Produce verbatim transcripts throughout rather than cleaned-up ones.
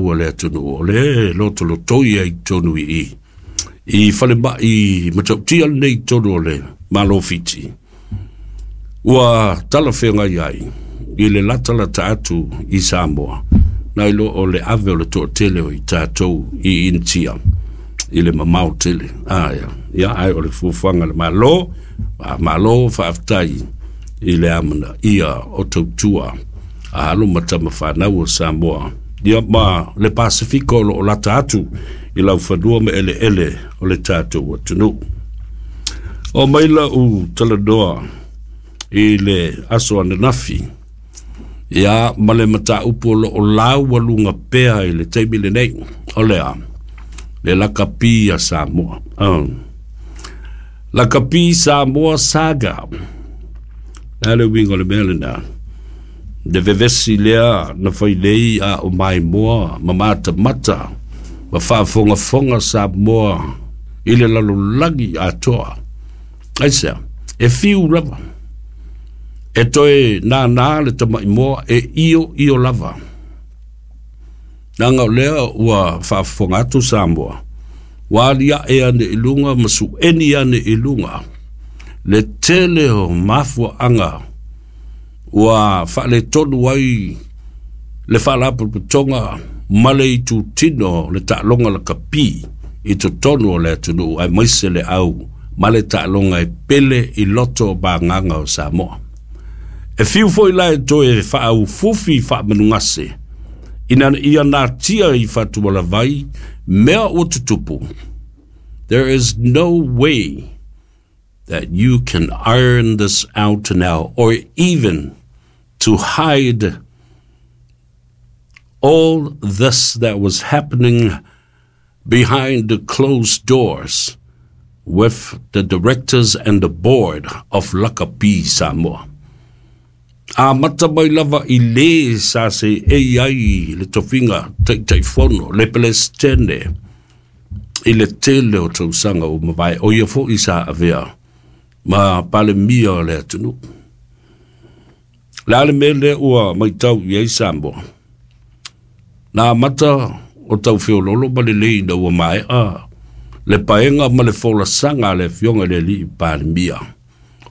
fanau a le atunuu o lea e lotolotoi ai i totonu i i i falemai matautia lenei i totonu o le Malo o Fiti, ua talafeagai ai i le latalata atu i Samoa nai lo o le ave o le toatele o i tatou i Initia i le mamao tele. Ah, ia, ia, ai o le fuafuaga a le Malo, malo faafetai i le amanaia o tautua a alo ma tama fanau o Samoa, ia ma le Pasefika o lo o lata atu i laufanua ma eleele o le tatou atunuu. O mai lau talanoa i le aso ananafi, ia ma le mataupu o lo o laualuga pea i le taimi lenei, o lea, le lakapi a Samoa. Oh. Lakapi Samoa Saga. Le a le uiga o le mea lena? Le vevesi lea na failei a o maimoa ma matamata ma faafogafoga Samoa i le lalolagi atoa. Aisea? E fiu lava. E toe nānā le tamaimoa e io io lava. Leaga o lea ua faafofoga atu Samoa, ua aliae ane i luga ma sueni ane i luga le tele o mafuaaga ua faaletonu ai le faalapotopotoga ma le itutino le taaloga lakapi i totonu o le atunuu aemaise le au ma le taaloga e pele i loto o magaga o Samoa. E fiu foi la e toe faaufufi faamanugase ina ia natia i fatualavai mea ua tutupu. There is no way that you can iron this out now or even to hide all this that was happening behind the closed doors with the directors and the board of Lakapi Samoa. Amata mai lava i le sa se e ai le tofiga Taitaifono, le Peresetene i le tele o tausaga ua mavae, o ia foi sa avea ma Palemia o le atunuu. Le a le mea lea ua matau i ai Samoa? Na amata o tau feololo ma lelei ina ua maea le paega ma le folasaga a le afioga i le alii Palemia.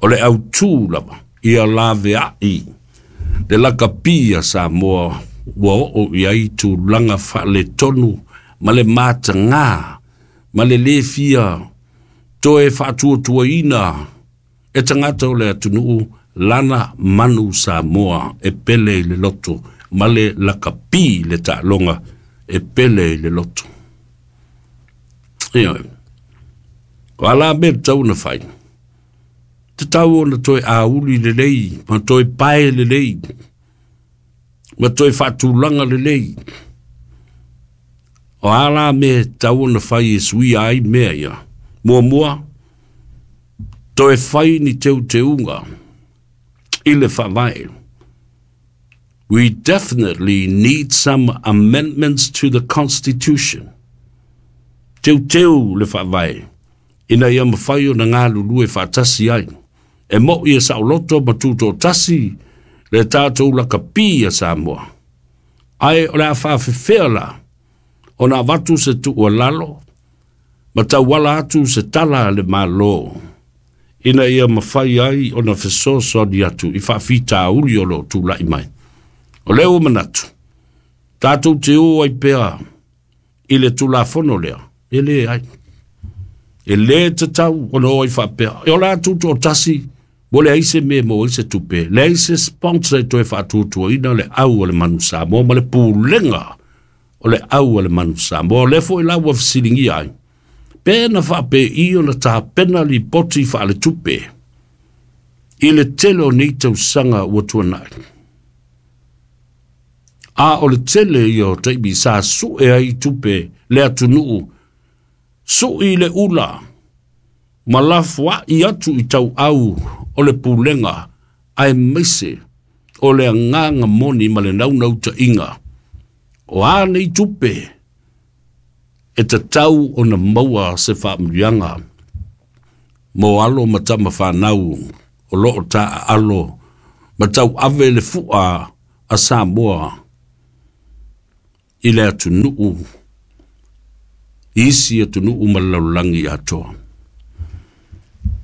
O le autū lava ia laveai le lakapi a Samoa ua oo i ai tulaga faaletonu ma le matagā ma le lē fia toe faatuatuaina e tagata o le atunuu lana manu Samoa e pele i le loto ma le lakapi le taaloga e pele i le loto. Ioe. O a la mea e tatau ona fai? Tatau ona toe auli lelei, ma toe pae lelei, ma toe faatulaga lelei. O a la mea e tatau ona fai e suia ai mea ia? Muamua, toe fai ni teuteuga i le faavae. We definitely need some amendments to the constitution. Teuteu le faavae ina ia mafai ona galulue faatasi ai. E mo'i e saoloto ma tutoatasi le tatou lakapi a Samoa. Ae o le a faafefea la ona avatu se tuualalo ma tauala atu se tala a le Malo ina ia mafai ai ona fesoasoani atu i faafitauli o lo o tulai mai? O lea ua manatu, tatou te o ai pea i le Tulafono lea, e leai. E lē tatau ona o ai faapea. E ola atu toatasi, ua leai se mea e maua ai se tupe, leai se sponsor e toe faatuatuaina le au a le manu Samoa ma le pulega o le au a le manu Samoa. O lea foi la ua fesiligia ai, pe na faapei ona tapena lipoti faaletupe i le tele o nei tausaga ua tuanai. A o le tele ia o taimi sa sue ai tupe le atunuu, sui le ula ma lafoai atu i tauau o le pulega aemaise o le agaga moni ma le naunautaiga o a nei tupe e tatau ona maua se faamanuiaga mo alo ma tama fanau o lo o taaalo ma tauave le fua a Samoa. I le atunuu isi atunuu ma le lalolagi atoa.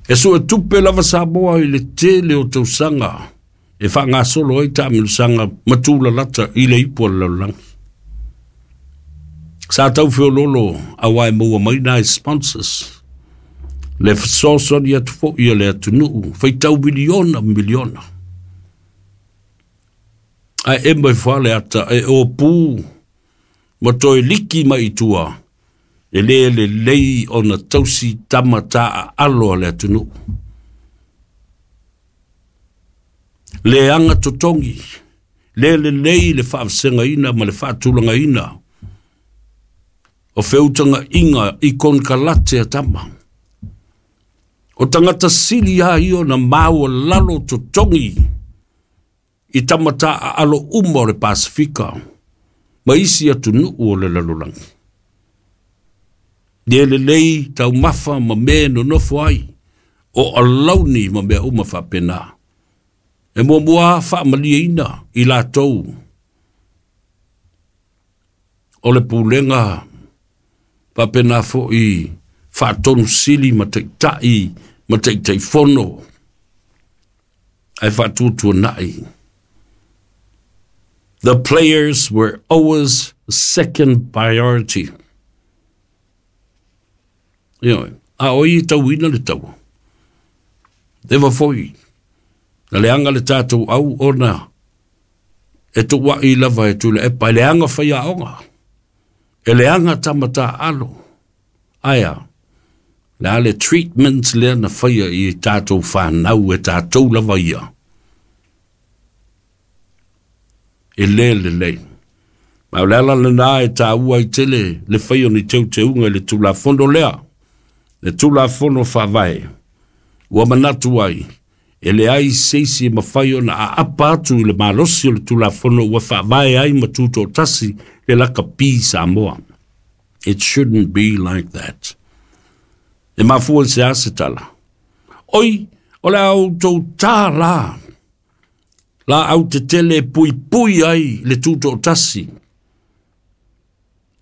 E sue tupe lava Samoa i le tele o tausaga e faagasolo ai taamilosaga ma tulalata i le ipu o le lalolagi. Sa tau feololo auā e maua mai nai sponsors. Le fesoasoani atu foʻi a le atunuu faitau miliona ma miliona. Ae e mai fua le ata e opū ma toe liki mai i tua e lē lelei ona tausi tama taaalo a le atunuu. Leaga totogi, lē lelei le faavasegaina ma le faatulagaina o feutagaʻiga i konekarate a tama. O tagata sili a ia ona maualalo totogi i tama taaalo uma o le Pasifika ma isi atunuu o le lalolagi. Le lelei taumafa ma mea e nonofo ai o alauni ma mea uma faapena. E muamua faamalieina i latou o le pulega faapena foʻi faatonu sili ma taʻitaʻi ma taʻitaʻifono ae faatuatuanaʻi. The players were always second priority. Ioe, a o ai e tauina le taua. Leva foʻi na leaga le tatou au ona e tuuaʻi lava e Tuilaepa e leaga faiaoga, e leaga tama taaalo. Ae a le a le treatment lea na faia i tatou fanau e tatou lava ia? E lē lelei. Ma o le ala lenā e tāua ai tele le faia o ni teuteuga i le Tulafono lea, le Tulafono Faavae, ua manatu ai e leai se isi e mafai ona aapa atu i le malosi o le Tulafono ua faavae ai ma tutoatasi le lakapi Samoa. It shouldn't be like that. E mafua i se a se tala? Oi, o le a outou tā la laau tetele e puipui ai le tutoatasi.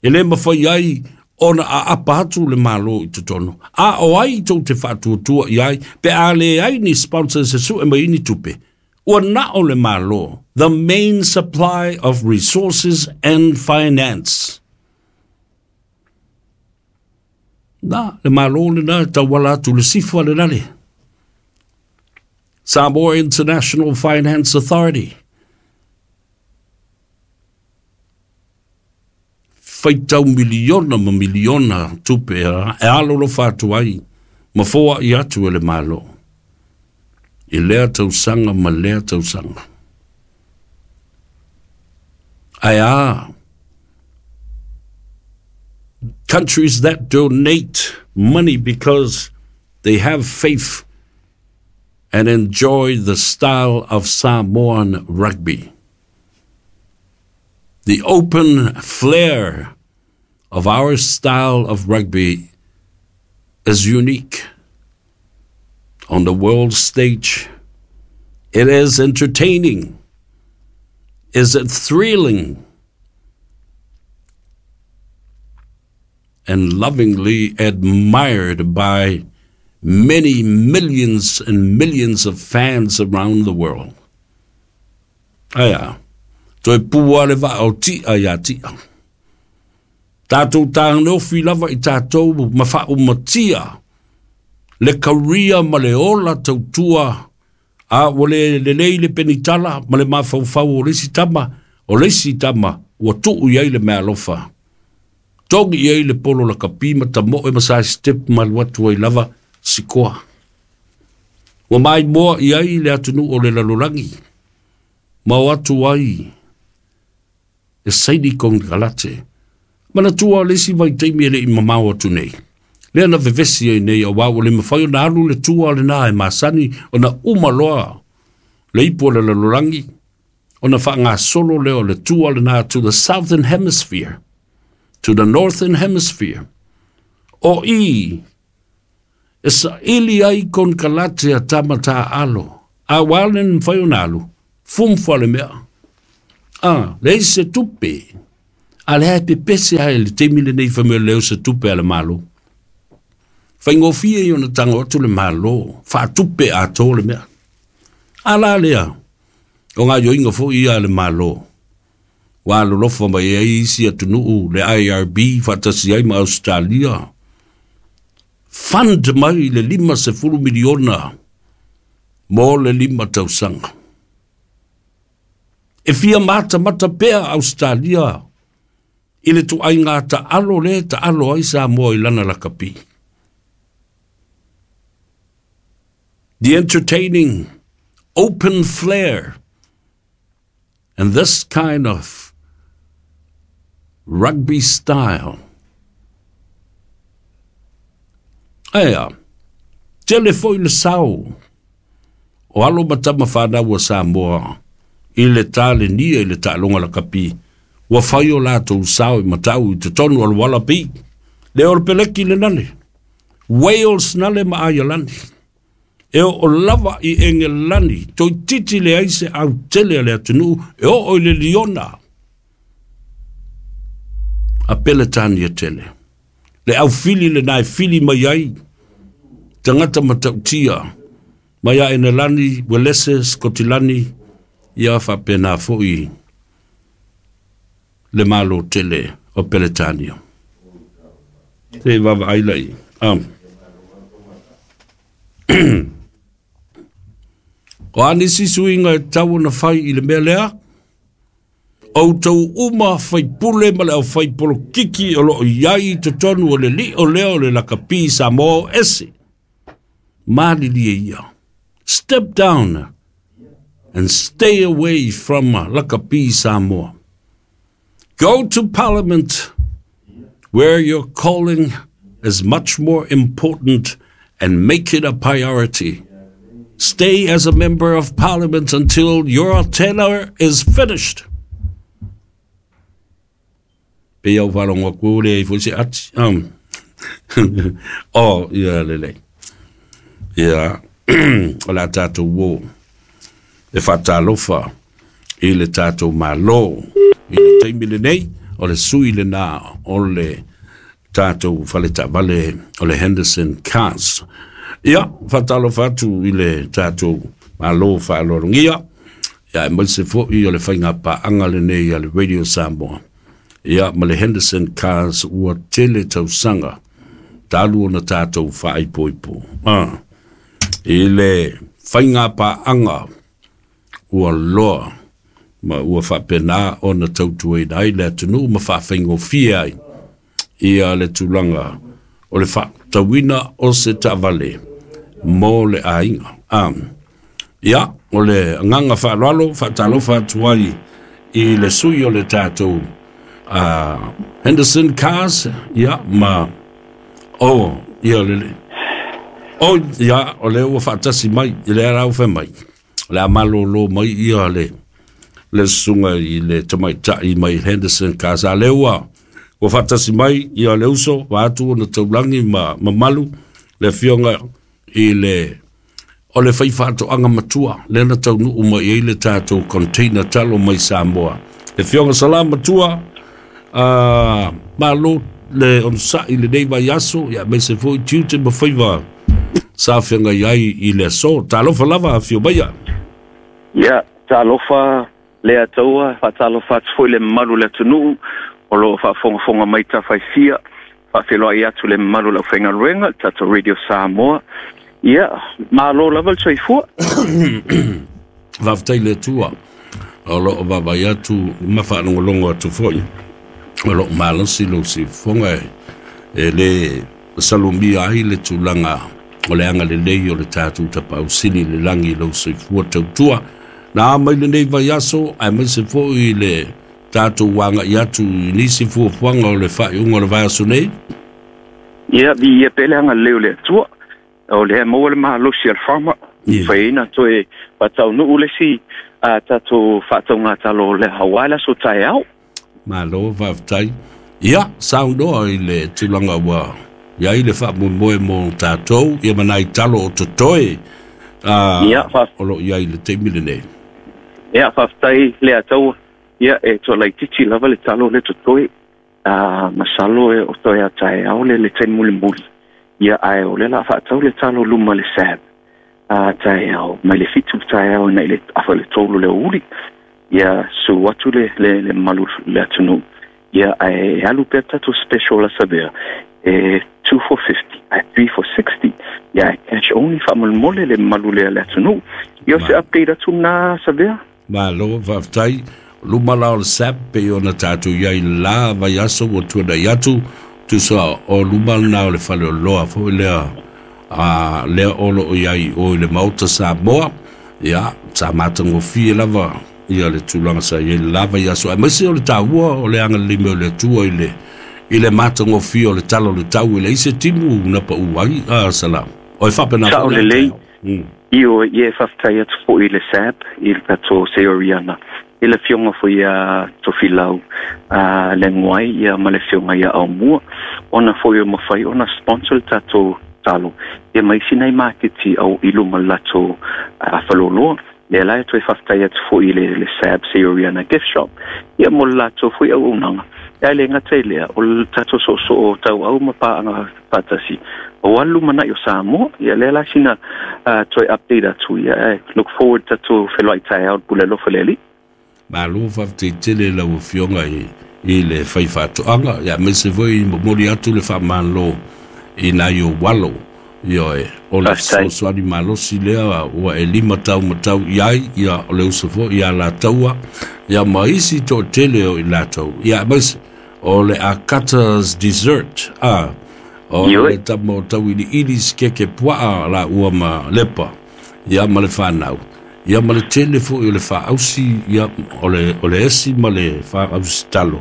E lē mafai ai ona aapa atu le Malo i totonu. A o ai tou te faatuatua i ai pe a leai ni sponsors e sue mai ni tupe? Ua na o le Malo, the main supply of resources and finance. Na, le Malo lenā e tauala atu le SIFA lenā le Samoa International Finance Authority. Faitau miliona ma miliona tupe e alolofa atu ai ma foaʻi atu e le Malo i lea tausaga ma lea tausaga. Ae a countries that donate money because they have faith and enjoy the style of Samoan rugby. The open flair of our style of rugby is unique. On the world stage, it is entertaining. Is it thrilling? And lovingly admired by many millions and millions of fans around the world. Ae a, toe pua le vaa o ti'a iā ti'a. Tatou tagofi lava i tatou ma faaumatia le career ma le ola tautua a ua le lelei le penitala ma le mafaufau o le isi tama, o le isi tama ua tuu i ai le meaalofa. Togi i ai le polo lakapi ma tamoe ma sa step ma alu atu ai lava sikoa. Ua maimoa i ai le atunuu o le lalolagi ma o atu ai e saini konekarate. Manatua o le isi vaitaimi e le i mamao atu nei. Lea na vevesi ai nei auā ua le mafai ona alu le tua lenā e masani ona uma loa le ipu o le lalolagi ona faagasolo lea o le tua lenā to the southern hemisphere, to the northern hemisphere. O i e saili ai konekarate a tama taaalo a ua le mafai ona alu, fumfa le mea. A, leai se tupe. A lea e pepese ai le taimi lenei fai mai o le o se tupe a le Malo. Faigofie i ona tago atu le Malo, faatupe atoa le mea. A la lea, o gaoioiga foi ia a le Malo, ua alolofa mai ai isi atunuu le I R B faatasi ai ma Australia, fund mai le lima sefulu miliona mo le lima tausaga. E fia matamata pea Australia i le tuaiga taalo le taalo ai Samoa i lana lakapi. The entertaining open flair and this kind of rugby style. Aia, tele foi le sao o alo matama whanau o Samoa i le talenia i le taaloga lakapi. Ua fai o latou sao i matau i totonu o le Wallaby. Le o le peleki le nale. Wales nale ma Ireland. E o lava i Engelani, toi titi le ai se au tele a le atunuu, e o o i le Liona. A Peletania tele. Le au fili le nai fili mai ai, tangata matautia, mai a Engelani, Welese, Scotilani, ia whapena foi le malo tele o Peletania. Te wawa ailai. Um. O anisi suinga e tau na whai i le mea lea, o tau uma whai pule ma le au whai polokiki o loo iai totonu o le li o leo le lakapi Samoa ese. Malilie ia. Step down and stay away from Lakapi Samoa. Go to Parliament where your calling is much more important and make it a priority. Stay as a member of Parliament until your tenure is finished. Pe au wharonga kure i fose ati. Um. Oh, ia lele. Ia, o la tātou wō. E whatalofa i le tātou malo. I le taimi le nei, o le sui le nā, o le tātou whaletavale, o le Henderson Cars. Ia, whatalofa atu i le tātou malo whaalorungia. Ia, e maise foi o le whainga paanga le nei a le Radio Samoa. Ia, ma le Henderson Cars ua tele tausanga. Talu ona tātou whaaipoipo. Ah. I le whainga paanga ua loa ma ua whapena ona tautuaina ai le atunuu ma whaawhaingofia ai ia le tulaga o le whaatauina o se taavale mo le aiga. Um, ia, o le agaga faaaloalo faatalofa atu ai i le sui o le tatou uh, Henderson Cars, ia, ma o, ia le le. O, ia, o le ua faatasi mai, i le arau whai mai. O le amalolo mai ia le le sunga i le tamaitai mai Henderson Cars. A le ua, ua faatasi mai ia le uso, wa atu ona taulangi ma mamalu, le fionga i le o le whai whaatoanga matua, le na taunuu mai ei le tātou container talo mai Samoa. Le fionga salam matua, uh, malo le onsa i le nei vai aso, ia me se foi tiute ma whaiva sa whianga iai i le aso. Talofa lava, whio maia. Ia, talofa le ataua, whaatalofa atu foi le mamalu le atunuu, o loo faafogafoga mai tafaifia, faafeloai atu le mamalu le aufaigaluega, le tatou Radio Samoa. Ia, malo lava le soifua. Faafetai le Atua o loo vaavaai atu ma faalogologo atu foi. O loo malosi lou siufofoga e, e le salumia ai le tulaga o le agalelei o le tatou tapausili le lagi lou soifua tautua. Na mai lenei vaiaso ae maise foi le tatou aga'i atu i nisi fuafuaga o le faaiuga o le vaiaso nei. Ia, viia pea le agalelei o le Atua. O lea maua le malosi a le farmer. Yeah. Faiaina toe faataunuu le isi a tatou faataugatalo le auā le aso taeao. Malo faafetai. Ia, saunoa i le tulaga ua iai le faamoemoe mo tatou, ia ma nai talo o totoe uh, Ia, fa- o loo iai le taimi lenei. Ia, faafetai le ataua. Ia, e toalaititi lava le talo le totoe. A masalo e o toe a taeao le le taimi mulimuli. Ia ae o le la faatau le talo luma le S A B. A taeao mai le fitu taeao ina i le afa le tolu le uli. Ia su atu le le le malu le atunuu. Ia ae alu pea tatou special a Savea e two for fifty, ae three for sixty. Ia cash only faamolemole le malu le le atunuu. Ia se update atu na Savea. Malo faafetai. Luma la o le S A B pe ona tatou iai la vaiaso ua tuanai atu tusa o luma lena o le faleoloa foi lea a lea o loo iai o i le Maota Samoa. Ia sa matagofie lava ia le tulaga sa iai le la vaiaso aemaise o le taua o le agalelei mai o le Atua i le i le matagofie o le tala o le tau e leai se timu na pau ai a salam o e faapena Sao foi le lelei. taeao. Mm. Io ia faafetai atu foi i le S A B i le tatou Seoriana i le afioga foi ia Tofilau a le Nguai ia ma le afioga ia Aumua ona foi o mafai ona sponsor le tatou talo ia ma isi nai maketi au i luma le latou faleoloa. Lea la e toe faafetai atu foi i le, le S A B Seoriana Gift Shop ia mo le latou foi auaunaga. Ia le gata i lea o le tatou soosoo tauau ma paaga faatasi o alu manai o Samoa. Ia lea la sina uh, toe update atu. Ia eh, look forward tatou feloai taeao le pule alofa le Alii. Malo faafetai tele lau afioga i i le faifaatoaga ia aemaise foi momoli atu le faamalo i nai ou alo. Ioe, o le Faafetai. fesoasoani malosi lea ua e lima tau matau i ai ia o le uso foi ia lataua ia ma isi toatele o i latou ia aemaise o le Akata's Dessert a o Ioe. le tama o tauiliili sikeke puaa la ua ma lepa ia ma le whanau ia ma le tele foi o le faausi ia o le o le esi ma le faausi talo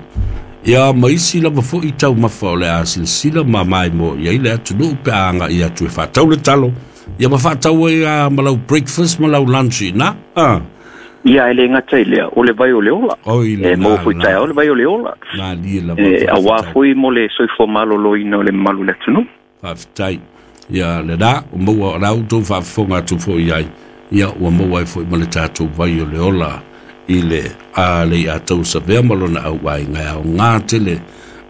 ia ma isi lava foi taumafa o le a silasila ma mai mo ia i le atunuu pe a agai atu e faatau le talo ia ma faatau ai a ma lau breakfast ma lau lunch i na a Ia e le gata i lea o le vai o le ola. Oi le E na maua foi na taeao le vai o le ola. na lie lava E auā faafetai. foi mo le soifua maloloina o le mamalu o le atunuu. Faafetai. Ia le la o maua o lau tou faafofoga atu foi ai ia ua maua ai foi ma le tatou vai o le ola i le a le ia tau savea ma lona auaiga e aogā tele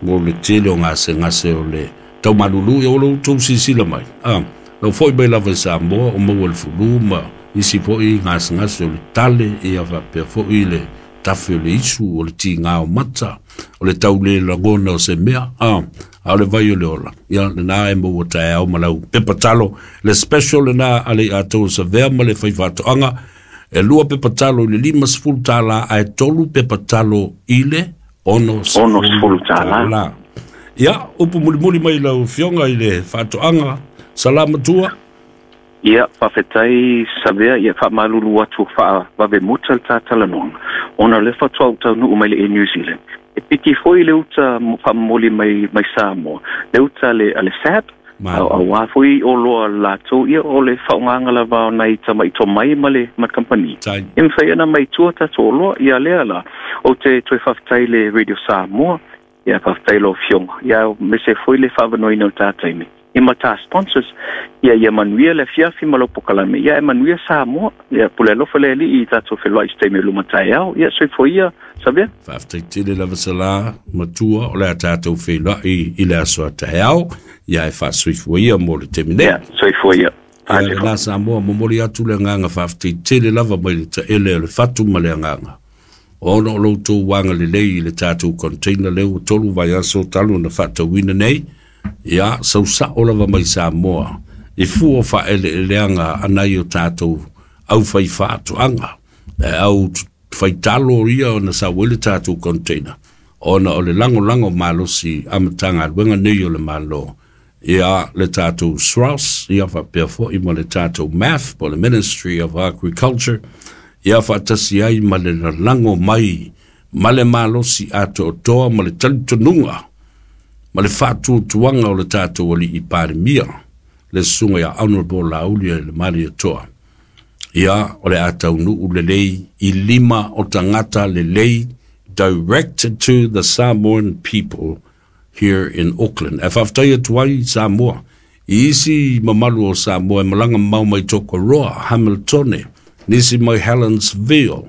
mo le tele o gasegase o le taumalulu ia o lou tou silasila mai a lau foi mai lava i Samoa o maua le fulu ma isi foi gasegase o le tale ia faapea foi le tafe o le isu o le tigā o mata o le taule lagona o se mea a a o le vai o le ola ia lena e maua taeao ma lau pepa talo le special lena a le ia tau savea ma le faifaatoaga e lua pepa talo i le lima sefulu tālā ae tolu pepa talo i le ono Ono sefulu sefulu tālā. tālā. Ia upu mulimuli mai lau afioga i le faatoaga salamatua. Ia faafetai Savea ia faamalulu atu faavave muta le tatalanoaga ona le faatoa ou taunuu mai le Air New Zealand. E piki foi le uta mo- faamomoli mai mai Samoa le uta le a le S A B Malo. auā foi o loa latou ia o le faaaogaga lava o nai tamaito mai ma le ma le company. Tai. E mafai ona mai tua tatou oloa ia lea la ou te toe faafetai le Radio Samoa ia faafetai lau afioga ia aemaise foi le faavanoaina o le tataimi i ma tā sponsors ia ia manuia le afiafi ma lau pokalame ia e manuia Samoa ia pule alofa le Alii i tatou feloai i se taimi o luma taeao ia soifua ia Savea. Faafetai tele lava Salā matua o le a tatou feiloai i le aso a taeao ia e faasoifua ia mo le taimi nei. Ia soifua ia. Ia lena Samoa momoli atu le agaga faafetai tele lava mai le taele o le fatu ma le agaga ona o lo outou agalelei i le tatou container lea ua tolu vaiaso talu na faatauina nei ia sausao lava mai Samoa i fua faaeleeleaga anai o tatou aufaifaatoaga e au faitalo ia ona sau ai le tatou container ona o le lagolago malosi a Matagaluega nei o le Malo ia le tatou S R O S ia faapea foi ma le tatou M A F po le Ministry of Agriculture ia faatasi ai ma le lalago mai ma le malosi atoatoa ma le talitonuga ma le faatuatuaga o le tatou alii Palemia le susuga ia Honorable Laauli le Malietoa ia o le a taunuu lelei i lima o tagata lelei directed to the Samoan people here in Auckland. E faafetai atu ai Samoa i isi mamalu o Samoa e malaga mamao mai Tokoroa, Hamiltone, nisi mai Helensville,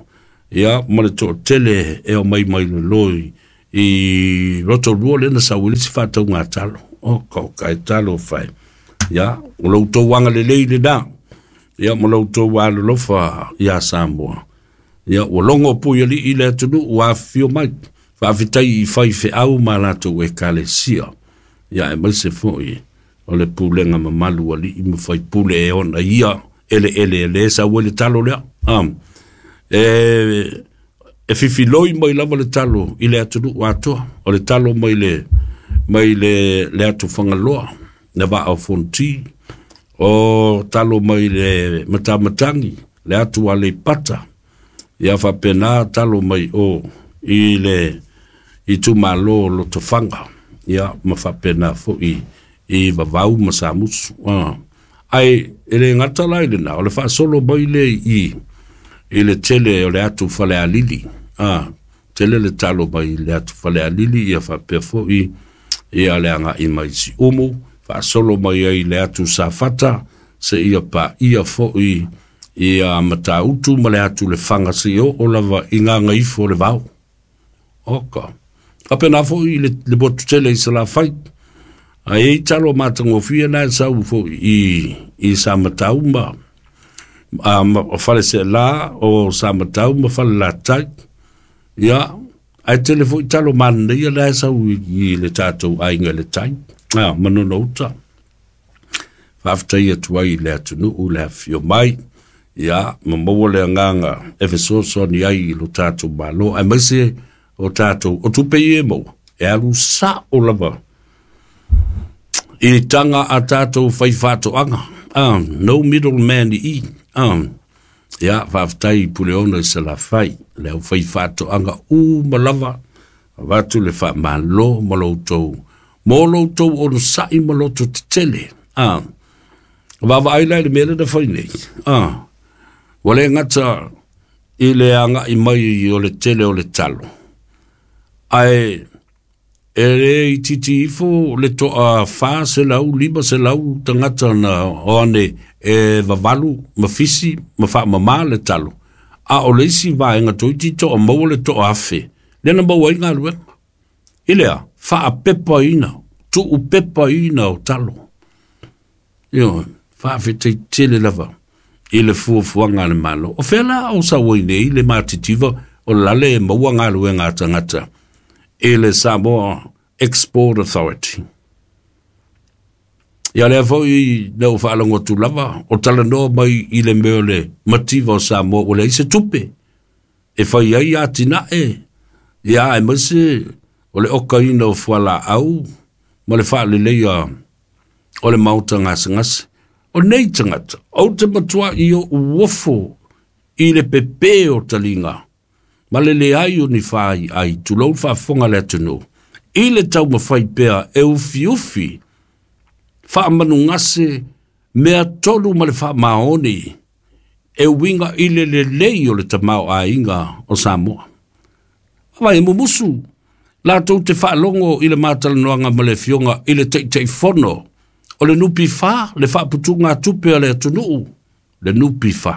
ia ma le toatele e o mai mai leloi I Rotorua le na sau i le si whātau ngā talo. O kau kai talo whai. Ia, o lau tau wanga le lei le nā. Ia, ma lau tau alolofa ia Samoa. Ia, ua longo pui ali i le atunu ua whio mai. Whaafetai i whai wheau ma lātou e kalesia. Ia, e maise foi o le pulenga mamalu ali i ma whai pule e ona ia ele ele ele sa ue le talo lea. Um, e, e fifiloi mai lava le talo i le atunu atoa. O le talo mai le, mai le, le atu whangaloa, le waa o fonti. O talo mai le matamatangi, le atu a le pata. Ia whapena talo mai o i le i tumalo lotofanga. Ia ma whapena fo i i vavau ma samusu. Ah. Ai, ele ngata lai le na, o le whaasolo mai le i, i le tele o le atu whale alili. Ah, tele le talo mai le atu whale alili, ia whapea fo i, ia le anga i mai si umu, whaasolo mai ai le atu safata, se ia pa ia fo i, ia matautu ma le atu le whanga si o, o lava i ngā ngaifo le vau. Oka. Kapena fo i le, le botu tele i sa la whai. Ai e talo matangofia nā sau fo i, i sa matau ma, a, ma whale se la o sa matau ma whale la tai. Ia, ai tele fo i talo mana ia nā sau i, i le tātou ainga le tai. A, manono uta. Whaftai atu ai le atunu u le awhio mai. Ia, ma maua le anganga e fesoso ni ai i lo tātou malo. Ai maise o tātou, o tupe i e maua. E alu sa o lava. I tanga a tātou whai whātoanga. Um, no middleman i. Um, ia, whaftai puleona i sa la whai. Le au whai whātoanga u malava. Watu le wha malo maloutou. Mō loutou ono sa'i ma loto tetele. Ah. Wawa ai lai le mele na whai nei. Ah. Wale ngata i le anga i mai o le tele o le talo. Ai e le i titi ifo le toa wha se lau, lima se lau tangata na oane e vavalu, ma fisi, ma wha mama le talo. A o le isi vaenga toi tito o maua le toa afe. Lena maua i ngā luenga. I lea, wha a pepa ina, tu u pepa ina o talo. Io, wha awhete tele lava i le fuafuaga le Malo. O fela o sa oi nei le matitiva o lale e maua ngā luenga tangata e le Samoa Export Authority. Ia lea foi leo whaalango tu lava, o talanoa mai i le meo le mativa o Samoa o le ise tupe. E whai ai a tina e, ia e maise o le okaina o fuala au, ma le whaaleleia o le mauta ngasengase. O nei tangata, au te matua i o uofo i le pepe o talinga, ma le le ai o ni whai ai, tulou whaafonga le atunu. I le tau mawhai pea e ufi ufi, whaamanu ngase, mea tolu ma le whaamaoni, e winga i le lelei o le tamao a inga o Samoa. Vai mumusu, lātou te whaalongo i le mātalanoanga ma le fionga i le teitei fono, o le nupi wha, le whaaputunga tupe a le atunuu, le nupi wha.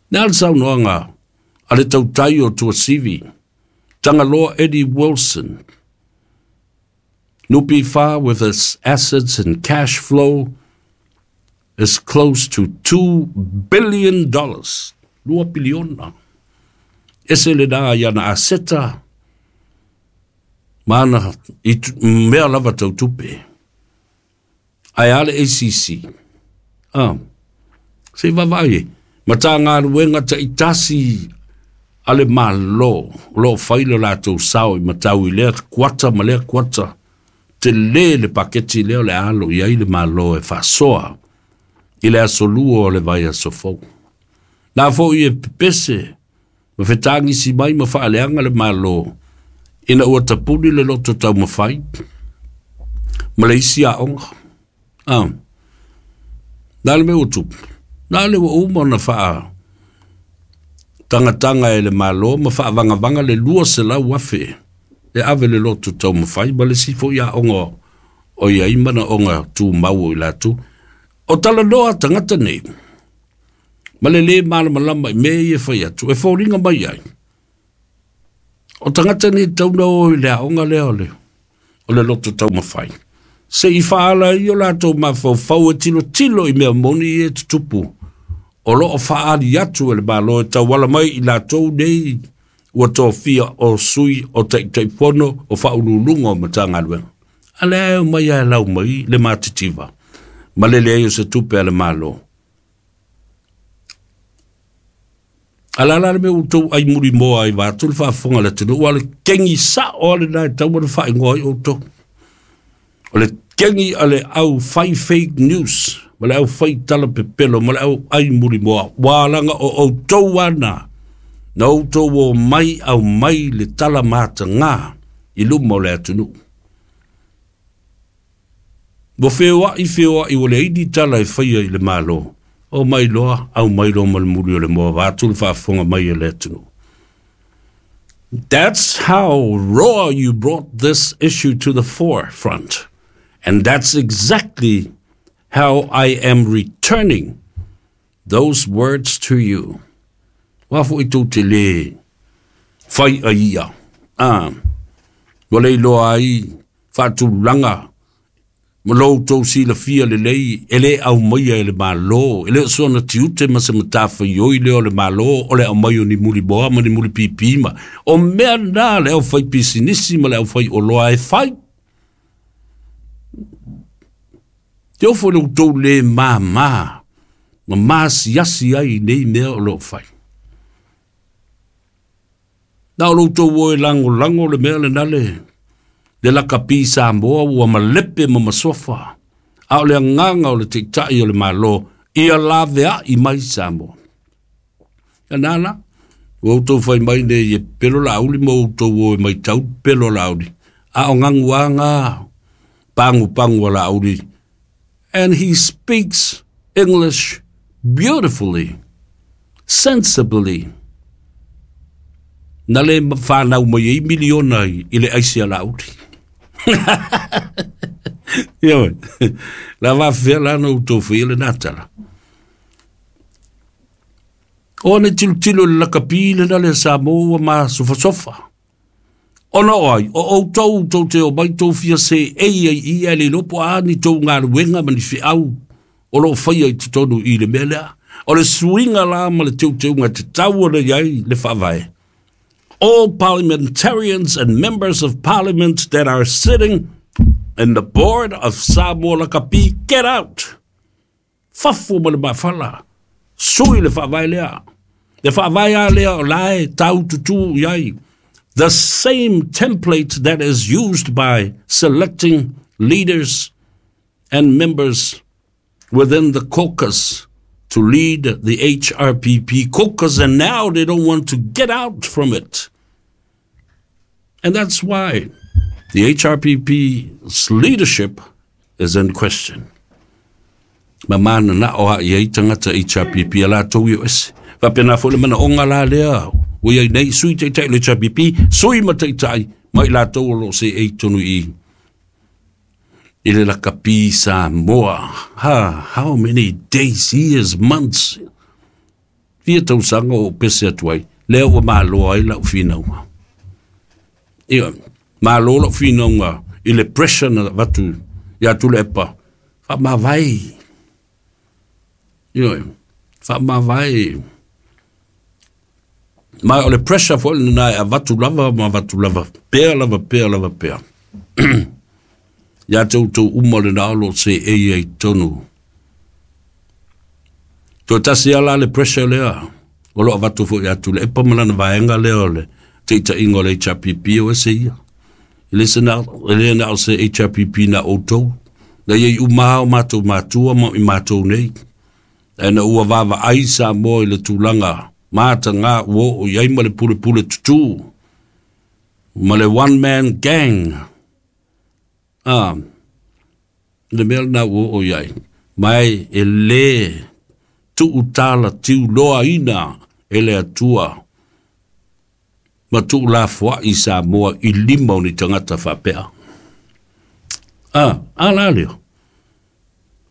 Ne al saunoanga a le tautai o Tuasivi, Tangaloa Eddie Wilson, Nupi Wha with its assets and cash flow is close to two billion dollars. Lua piliona. Ese le nā iana aseta, mana i mea lava tau tupe. Ai ale A C C. Ah, se vavai e. Mata ngā ruenga ta itasi ale malo, lo whailo lātou sao i matau i lea kuata ma lea kuata. Te le le paketi leo le alo i ai le malo e whasoa i le asolua o le vai asofou. Nā fo i e pepese, ma whetangi si mai ma whaaleanga le malo, ina ua tapuni le loto tau mawhai, ma le isi a onga. Ah. Nā le mea utupu, nā le ua uma na whaa tangatanga e le malo, ma whaavangavanga le lua se lau afe, e ave le loto tau mawhai, ma le sifo ia onga o ia imana onga tū mau i lātou. O talanoa tangata nei, ma le le malamalama i mea i e whai atu, e fōringa mai ai. O tagata nei tauna o i le aoga lea o le, o le loto taumafai. Se i faala ai o latou mafaufau e tilotilo i mea moni e tutupu. O loo faali atu e le Malo e tauala mai i latou nei ua tofia o sui o taitaifono o faauluuluga o Matagaluega. A lea e omai ae lau mai le matitiva ma le leai o se tupe a le Malo. A la la le mea ua outou ai mulimoa ai vaeatu le faafofoga a le atunuu, ua le kegi sao a lena e tatau ona faaigoa ai outou. O le kegi a le au fai fake news ma le au fai tala pepelo ma le au ai mulimoa, ua laga o outou ana na outou o mai au mai le tala mataga i luma o le atunuu. Ua feoai feoai ua leai ni tala e faia i le Malo. O mai loa, au mai loa ma le muli o le moa vaeatu le faafofoga mai a le atunuu. That's how raw you brought this issue to the forefront. And that's exactly how I am returning those words to you. Ua foi tou te le fai a ia. Ah, ua le iloa ai faatulaga ma lo outou silafia lelei e le aumaia e le Malo, e le o soona tiute ma se matafaioi lea o le Malo o le aumai o ni mulimoa ma ni mulipipi ma o mea na le aufai pisinisi ma le aufai oloa e fai. Te ofo le outou le māmā ma masiasi ai i nei mea o loo fai. Na o lo outou o e lagolago le mea lena le le lakapi Samoa ua malepe ma masofa, a o le agaga o le taitai o le Malo ia laveai mai Samoa. Ia nā la, ua outou fai mai nei e pelo lauli ma outou o e maitau pelo lauli, a o gaguaga pagu pagu a lauli. And he speaks English beautifully, sensibly. Na le whanau mai ei miliona i le aisi a lauli. Ioe, la wawhea la na utou whea le nātala. O ne tilotilo le lakapi le na le Samoa ma sofasofa. Ona o ai, o outou tou te o mai tou fia se ei ai ia le lopo a ni tou galuega ma ni feau o loo faia i totonu i le mea lea. O le suiga la ma le teuteuga te tau ona i ai le faavae. All parliamentarians and members of parliament that are sitting in the board of Samoa Lakapi, get out! Fafo ma le mafala. Sui le faavae lea. Le faavae a lea o lae tau tutu i ai. The same template that is used by selecting leaders and members within the caucus to lead the H R P P caucus, and now they don't want to get out from it. And that's why the H R P P's leadership is in question. Ma mana na o ha i tangata H R P P a latou i o ese. Wapena fo le mana onga la lea, o iai nei sui taitai le H R P P, sui ma taitai, mai latou o lo se ei tonu i. I le lakapi Samoa. Ha, how many days, years, months. Fia tausaga o pese atu ai. Lea ua malo ai lau whinaunga. Ia, malo lau whinaunga i le pressure na watu ia Tuilaepa. Wha mawai. Ia, wha mawai. Mai o le pressure fo le nai a watu lava ma watu lava. Pea lava, pea lava, pea. Ia tau tau uma le nalo se ei ei tonu. Toi tasi ala le pressure lea. O loa watu fo ia tule. Epa malana vaenga lea o le teita ingo le H R P P o ese ia. Ile se na, ile na o se H R P P na outou. Na iei umaha o mātou mātua ma i mātou nei. E na ua wawa ai Samoa i le tūlanga. Māta ngā ua o iai ma le pule pule tutu. Ma le one man gang. Ah, le mea na ua o iai. Mai e le tuutala tiu loa ina e le atua. Ma tuu la fua i Samoa i lima o ni tangata whapea. Ah, a la leo.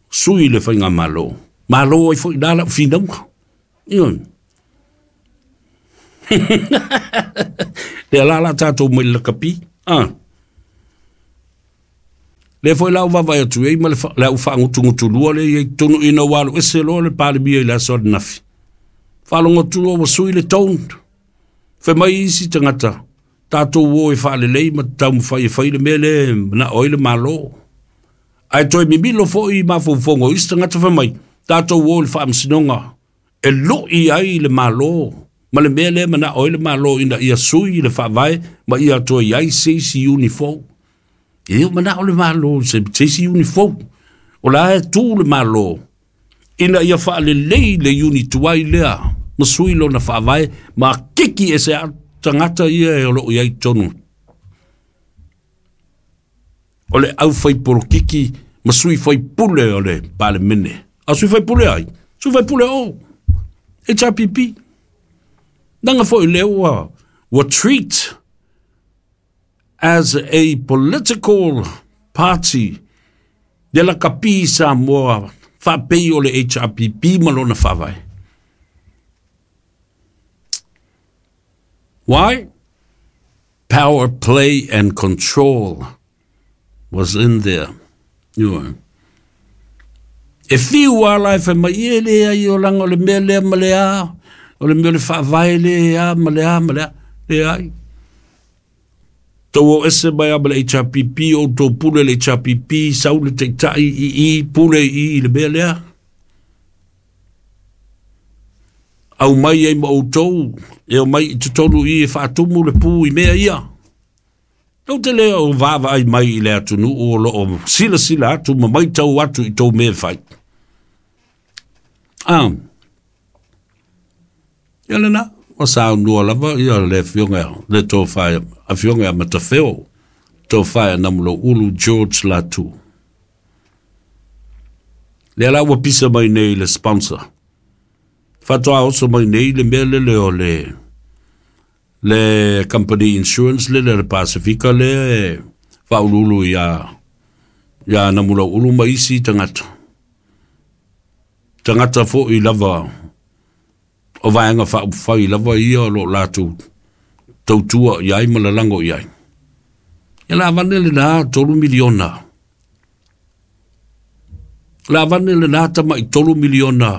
Sui le whainga malo. Malo ai fo i nala whinaunga. Ion. Le la la tātou mai lakapi. Ah. Le foi lau vavai atu ei ma le lau whaangutungutu lua le i tonu ina walu ese loa le palemia i le aso nafi. Whalongotu lua wasui le tone. Fe mai isi tangata. Tātou o e whaalelei ma tau mwhai e whai le mea le na oi le malo. Ai toi mimilo foi mafaufongo isi tangata fe mai. Tātou o le whaamsinonga. E loi ai le malo. Ma le mea le mana oi le malo ina ia sui le whaavae ma ia toi ai seisi unifou. E o mana o le malo se seisi unifou. O la e tū le malo. Ina ia whaalelei le unituai lea. Ma sui lona whaavae ma kiki e se tangata ia e o loo iai tonu. O le au whai porokiki ma sui whai pule o le palemene. A sui whai pule ai. Sui whai pule o. H R P P. Nanga foi lea ua, ua treat as a political party de la kapi Samoa whaapei o le H R P P ma lona whawai. Why? Power, play and control was in there. You know. E whiu a lai whai mai e le ai o langa o le mea lea ma le a, o le mea le whaavae le a ma le a ma le a, le ai. Tau o ese mai a ma le H R P P, o tau pule le H R P P, sau le teitai i i, pule i i le mea lea. Au mai ei ma o tau, e o mai i tutonu i e whaatumu le pū i mea ia. Tau te lea o vaava ai mai i le atunu o lo o sila sila atu ma mai tau atu i tau mea whai. Ah. Ia lena, o sa nua lava, ia le fionga, le tō whaia, a fionga a matawheo, tō whaia namulo ulu George Latu. Le ala ua pisa mai nei le sponsor. Whatoa oso mai nei le mea lele o le le company insurance le le Pasifika le whaululu ia ia namula ulu mai isi tangata. Tangata fo i lava o vaenga whaupawhai lava ia o lo lātou tautua i ai ma lalango i ai. Ia la vane le nā tolu miliona. La vane le nā tama i tolu miliona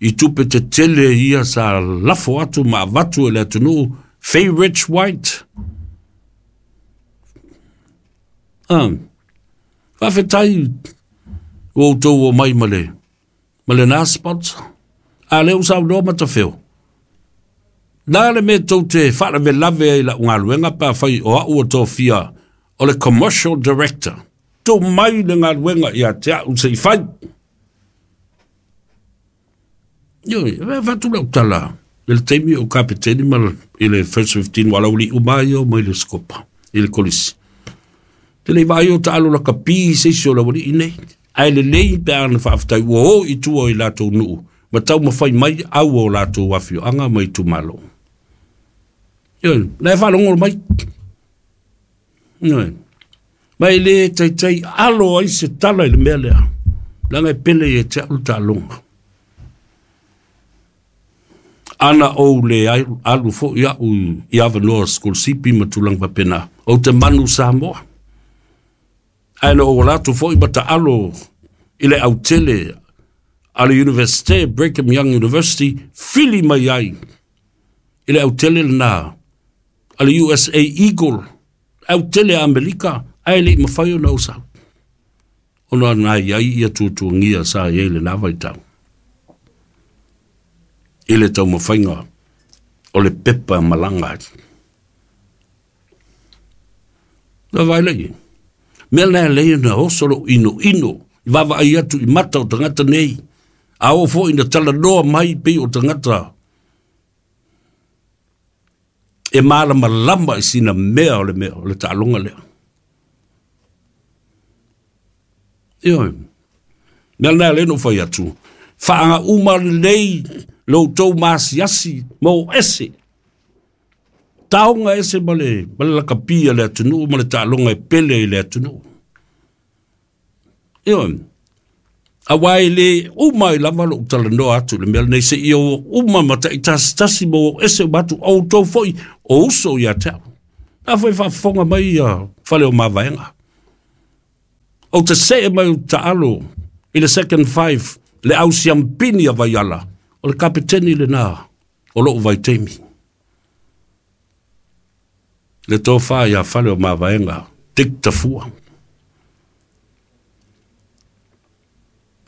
i tupe te tele ia sa lafo atu ma avatu e le atunu Faye Rich White. Ah. Whawhetai o tau o mai male. Male nā sponsor. A leo sau loa matawheo. Nā le me tau te whaarawe lave ai la ungaluenga pa whai o au o tō fia o le commercial director. Tō mai le ngaluenga ia te au se i whai. Ioi, e whatu lau tala. I le teimi o kapeteni ma i le first fifteen wala uli umai o mai le skopa i le kolisi. Te lei vai o taalo la kapi se isi o la wali inei. Ai le lei pe ana whaaftai ua o i tua i lātou nuu. Ma tau mawhai mai au o lātou wawhio anga mai tu malo. Ioi, lai whalongol mai. Ioi. Mai le taitai alo ai se tala i le mea lea. Langa e pele i e te alu tālonga. Ana o le alu fo ia u i awanoa school sipi ma tulang papena. O te manu Samoa. Aina o lātou fo i mata alo i le autele a le University, Brigham Young University, fili mai ai i le autele na a le U S A Eagle, autele a Amerika, ai le mawhai o na usau. Ona nai ai ia tutuangia sa i le nā vaitau. I le tau mawhainga o le pepa malanga. Nā vai lei. Mea nā lei na osolo ino ino. I wawa ai atu i mata o tangata nei. A o fo ina tala noa mai pei o tangata. E malama lama i sina mea o le mea o le taalonga lea. Ioi. Mea nā lei no whai atu. Whaanga uma lei lo tau masiasi mo ese. Taonga ese ma le, ma le lakapia le atunu, ma le taalonga e pele i le atunu. Ioi. Aua e le uma i lava lou talanoa atu le mea lenei seia o uma ma ta'itasitasi ma o ese uma atu outou fo'i o uso iā te a'u. A foi faafofoga mai ia fale o mavaega. Ou te se'e mai o taalo i le second five le ausiampini a Vaiala o le kapeteni lenā o lo'u vaitaimi. Le tofā iā fale o mavaega Dick Tafua.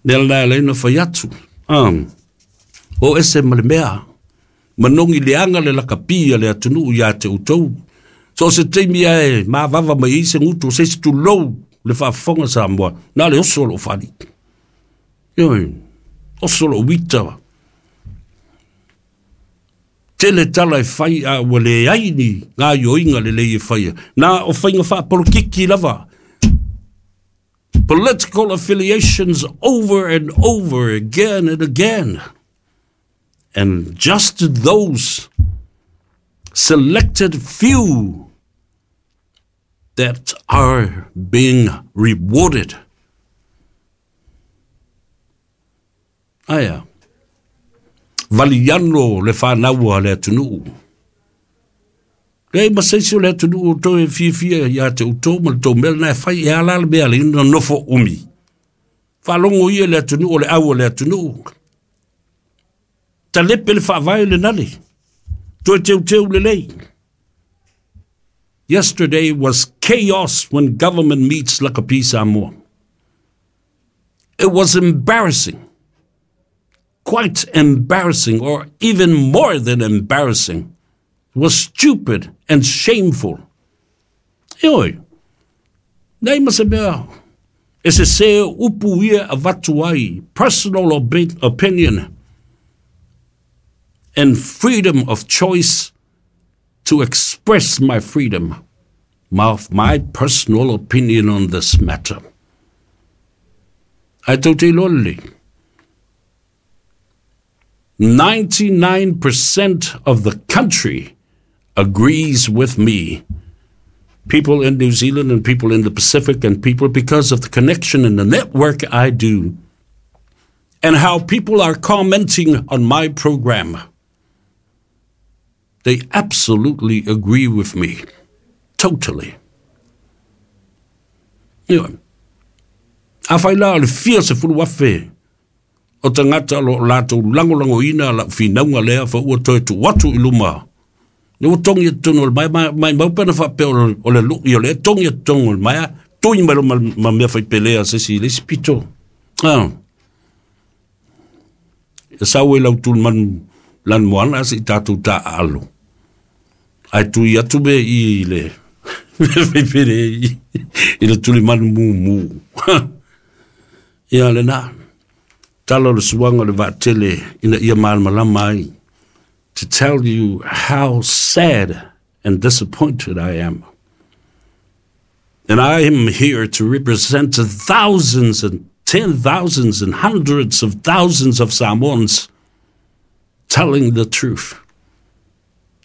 Mea lena e laina fai atu. Um, o ese ma le mea. Manogi leaga le lakapi a le atunuu iā te outou. So se taimi ae mavava mai ai se gutu o se isi tulou le faafofoga Samoa. Na le oso o loo fali. Ioe, oso loo uita. Tele tala e fai a ua leai ni gaoioiga lelei e faia. Na o faiga faapolokiki lava. Political affiliations over and over again and again. And just those selected few that are being rewarded. Aia, valiano le whānaua le atunuu. Lei ma seisi o le atunuu o toe fiafia iā te outou ma le tou mea lena e fai e ala le mea le ina nofo umi. Faalogo ia le atunuu o le au o le atunuu. Talepe le faavae lenale. Toe teuteu lelei. Yesterday was chaos when government meets Lakapi Samoa. It was embarrassing. Quite embarrassing, or even more than embarrassing. It was stupid and shameful. Ioe, nei ma se mea, e se se upu ia avatu ai, personal opinion and freedom of choice to express my freedom, my, my personal opinion on this matter. Ai tau te iloa lelei. ninety-nine percent of the country agrees with me. People in New Zealand and people in the Pacific and people, because of the connection and the network I do and how people are commenting on my program, they absolutely agree with me. Totally. Anyway, a fai la o le fia sefulu afe o tagata o loo latou lagolagoina la'u finauga lea fa'aua toe tuu atu i luma. Le ua togi e totonu o le maea, maimau pe ana faapea o le lu'i o lea togi e totonu o le maea, tui mai lo ma mea faipelea a se isi i le isi pito. Ah. E sau e lau tulimanu lanumoana ase i tatou taaalo. Ae tui atu me i le mea faipele i le tulimanu mumu. Ia lenā. Tala o le suaga o le vaatele ina ia malamalama ai. To tell you how sad and disappointed I am. And I am here to represent thousands and ten thousands and hundreds of thousands of Samoans telling the truth,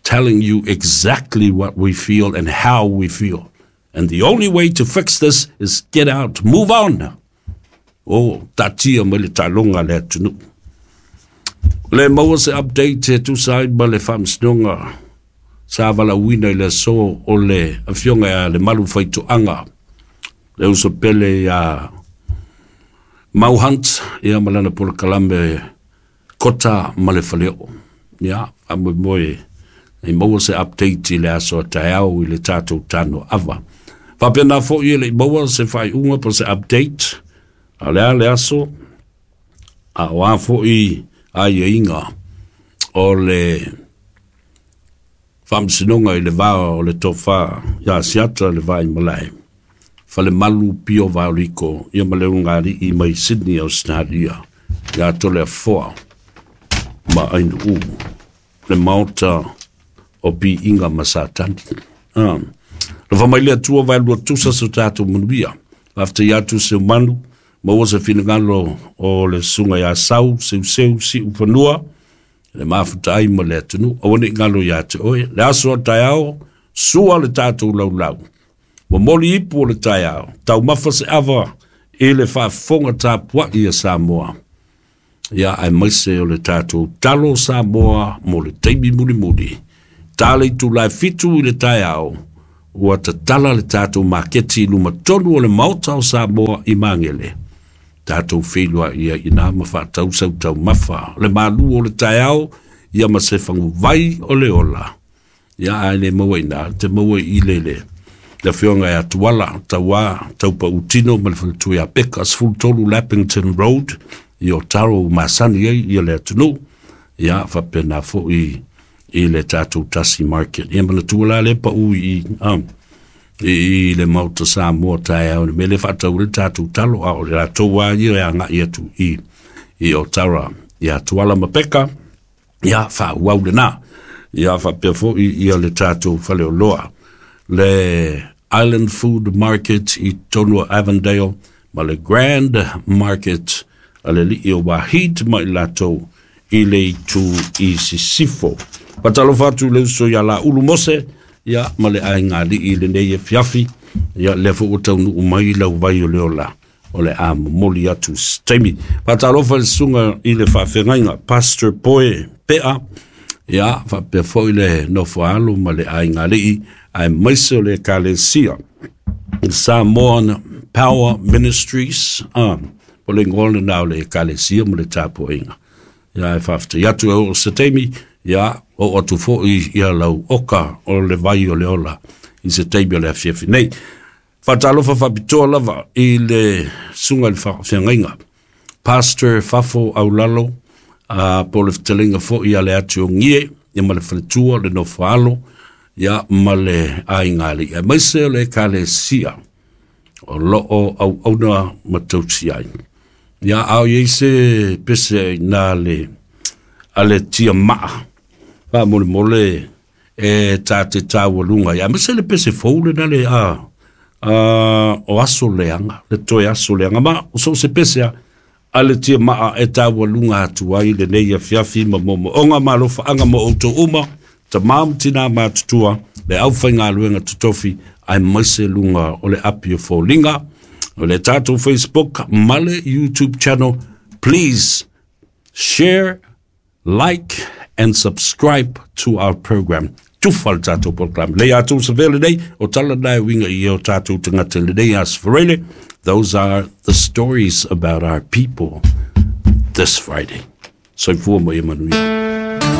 telling you exactly what we feel and how we feel. And the only way to fix this is get out, move on. Oh, taatia mai le taaloga a le atunuu. Le maua se update e tusa ai ma le faamasinoga sa valaauina i le aso o le afioga ia Lemalu Faitoaga, le uso pele iā Mau Hunt ia ma lana polokalame Kota ma le Faleoo. Ia, faamoemoe i maua se update i le aso a taeao i le tatou tano ava. Faapena fo'i e le i maua se faaiuga po o se update a o le a le aso, a o a fo'i aiaiga o le faamasinoga i le va o le tofa iā Siata le Vaimalae, Falemalu Pio Vaoliko ia ma le ulugalii mai Sydney, Australia, iā Toleafoa ma Ainuu, le maota o Piiga ma Satani. Ah. Lofa mai le Atua vaelua tusa so tatou manuia. Faafetai atu Seumanu, maua se finagalo o le susuga ia Sau, Seuseu, Siufanua, le mafuta ai ma le atunuu. Aua ne i galo ia te oe. Le aso a taeao, sua le tatou laulau. Momoli ipu o le taeao, taumafa se ava I le faafofoga tapua'i a Samoa, ia aemaise o le tatou talo Samoa mo le taimi mulimuli. Ta le itulā e fitu i le taeao, ua tatala le tatou maketi i luma tonu o le Maota o Samoa i Magele. Tatou feiloai ai i ina ma faatau sau taumafa, le malu o le taeao, ia ma se faguvai o le ola. Ia ae le maua i ina, te maua i le le le afioga ia Tuala Tauā Taupautino ma le faletua ia Peka, sefulu tolu Lappington Road i Otaro ua masani ai ia le atunuu. Ia faapena foi i le tatou Tasi Market. Ia manatua la le pau i um, i le Maota Samoa taeao le mea le faatau le tatou talo, a o le latou a ia e agai atu i i Otara ia Tuala ma Peka, ia faaauau lena. Ia faapea foi ia le tatou faleoloa, le Island Food Market i tonu o Avondale ma le Grand Market a le alii o Wahid ma i latou i le itu i Sisifo. Faatalofa atu i le uso ia Laulu Mose, ia ma le aiga alii i lenei afiafi, ia lea foi ua taunuu mai lau vai o le ola o le a momoli atu se taimi. Faatalofa i le susuga i le faafeagaiga Pastor Poe Pea, ia faapea foi le nofo alo ma le aiga alii aemaise o le Ekalesia Samoan Power Ministries, ah, po le igoa lena o le Ekalesia ma le tapuaiga. Ia e faafetai atu e oo se taimi, ia oo atu foi ia lau oka o le vai o le ola i se taimi o le afiafi nei. Faatalofa faapitoa lava i le susuga i le faafeagaiga Pastor Fafo Aulalo, uh, po le fetalaiga foi ia le ati o Gie, ia ma le faletua le nofo alo, ia ma le aiga alii aemaise o le Ekalesia o loo auauna ma tausi ai. Ia a o i ai se pese i na le a le tia maa faamolemole e ta te taualuga ai, aemaise le pese fou lena le a a o aso leaga le toe aso leaga ma o so o se pese a a le tia maa e taualuga atu ai lenei afiafi ma moomooga ma alofaaga mo outou uma, tamā ma tinā matutua, le aufaigaluega totofi aemaise luga o le api o foliga o le tatou Facebook ma le YouTube channel. Please share, like and subscribe to our program. Tufa le tatou program le atou sa vele nei o tala nai winga i o tatou tagata lenei aso Faraile. Those are the stories about our people this Friday. Soifua ma ia manuia.